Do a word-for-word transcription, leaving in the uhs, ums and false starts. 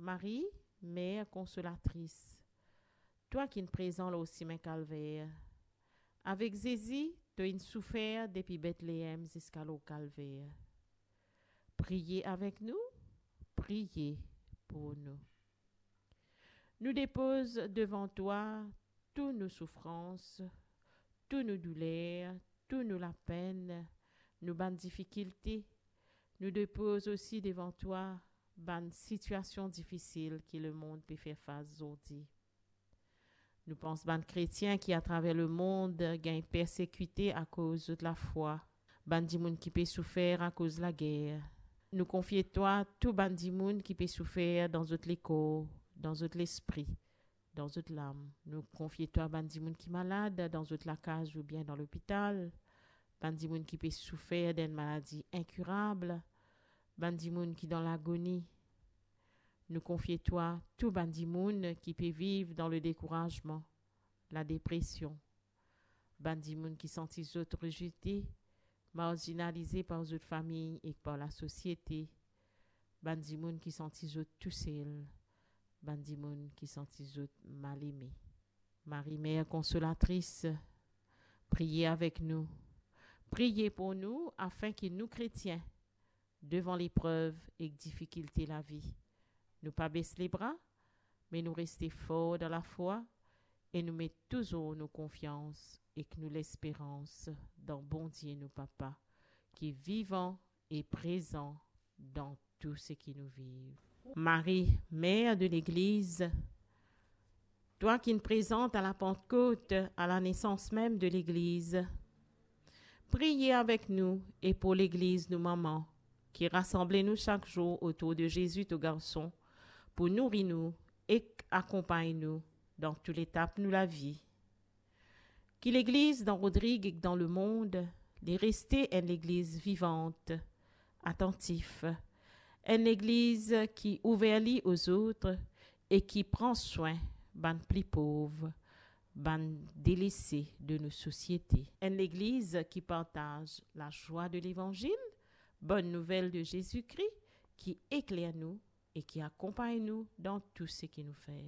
Marie, Mère Konsolatris, twa ki'nn prezan lor simin Kalver. Avek Zezi, to inn soufer depi Betleem ziska lor Kalver. Priye avek nou, priye pou nou. Nou depoz devan twa tou nou soufrans, tou nou douler, tou nou lapenn, nou bann difikilte. Nou depoz osi devan twa bann sitiasion difisil ki lemond pe fer fas zordi. Nou pans bann kretien ki atraver lemond gagn persekite akoz zot lafwa, bann dimoun ki pe soufer akoz lager. Nou konfie twa tou bann dimoun ki pe soufer dan zot lekor, dan zot lespri, dan zot lam. Nou konfie twa bann dimoun ki malad dan zot lakaz oubien dan lopital, bann dimoun ki pe soufer d'enn maladi inkirab, bann dimoun ki dan lagoni. Nou konfie twa tou bann dimoun ki pe viv dan ledekourazman, ladepresion, bann dimoun ki santi zot rezete, marzinalize par zot fami ek par lasosiete, bann dimoun ki santi zot tousel, bann dimoun ki santi zot mal eme. Marie, Mère Konsolatris, priye avek nou. Priye pou nou, afin ki nou kretien, devan leprev ek difikilte lavi, nou pa bes lebra, me nou reste for dan lafwa e nou met touzour nou konfians ek nou lesperans dan Bondie nou Papa, ki vivan e prezan dan tou seki nou viv. Marie, Mère de Legliz, twa ki'nn prezan a Lapantkot, a lanesans mem de Legliz, priye avek nou e pou Legliz nou mama, ki rasanble nou sak zour otour de Zezi to Garson, pou nouri nou ek akonpagn nou dan tou letap nou lavi. Ki Legliz dan Rodrig ek dan lemond, li reste enn Legliz vivant, atantif, enn Legliz ki ouver li ozot e ki pran swin bann pli pov, bann delese de nou sosiete. Enn Legliz ki partaz lazwa de Levanzil, Bonn Nouvel de Zezi Kri, ki ekler nou e ki akonpagn nou dan tou seki nou fer.